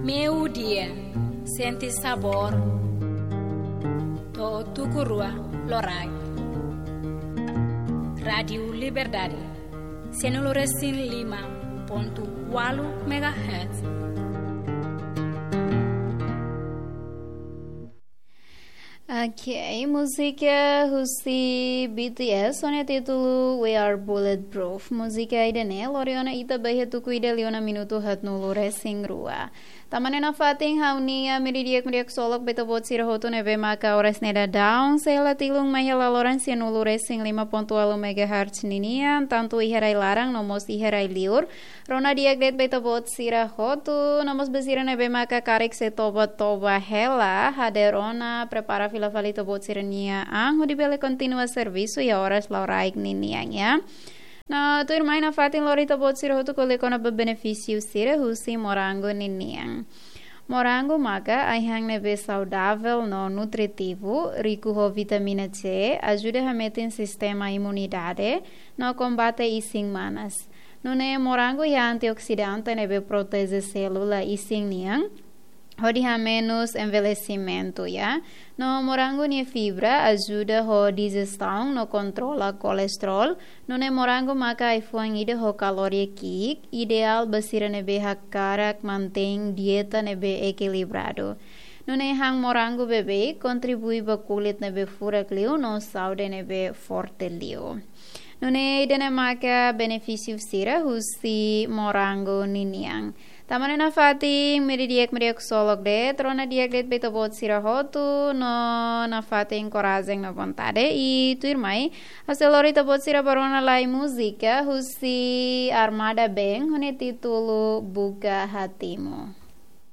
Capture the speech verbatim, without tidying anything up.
Meiudia, sente sabór. To'o tuku rua loraik. Rádiu Liberdade, sianulu resin lima pontu ualu megahertz. Ok, múzika husi B T S ho nia títulu We Are Bulletproof. Múzika ida-ne'e lori ona ita ba iha tuku ida liu ona minutu haatnulu resin rua. Tanba ne'e nafatin ha'u-nia meiudia di'ak, meiudia ksolok ba ita-boot sira hotu ne'ebé maka oras ne'e daudaun sei la tilun mai iha laloran sianulu resin lima pontu ualu megahertz ninian, tantu iha rai laran no mós iha rai liur. Rona di'ak de'it ba ita-boot sira hotu, no mós ba sira ne'ebé maka karik sei toba-toba hela, hadeer ona, prepara fila fali ita-boot sira-nia an hodi bele kontinua servisu iha oras loraik ninian, ya. No tuirmai nafatin lori ita-boot sira hotu ko'alia kona-ba benefísiu sira husi morangu ninian. Morangu maka ai-han ne'ebé saudavel no nutritivu, riku ho vitamina C, ajuda hametin sistema imunidade, no kombate isin manas. Nune'e morangu iha antioksidante ne'ebé proteje sélula isin nian hodi hamenus envelhesimentu, ya. No morangu nia fibra ajuda ho dijestaun no kontrola kolesterol. Nune'e morangu maka ai-fuan ida ho kaloria ki'ik, ideál ba sira ne'ebé hakarak mantein dieta ne'ebé ekilibradu. Nune'e han morangu beibeik kontribui ba kulit ne'ebé furak liu no saúde ne'ebé forte liu. Nune'e ida-ne'e maka benefísiu sira husi morangu ninian. Tanba ne'e nafatin meiudia di'ak, meiudia ksolok de'it, rona di'ak de'it ba ita-boot sira hotu, no nafatin korajen no vontade, i tuirmai ha'u sei lori ita-boot sira ba rona lai múzika husi Armada Band ho nia títulu Buka Hatimu.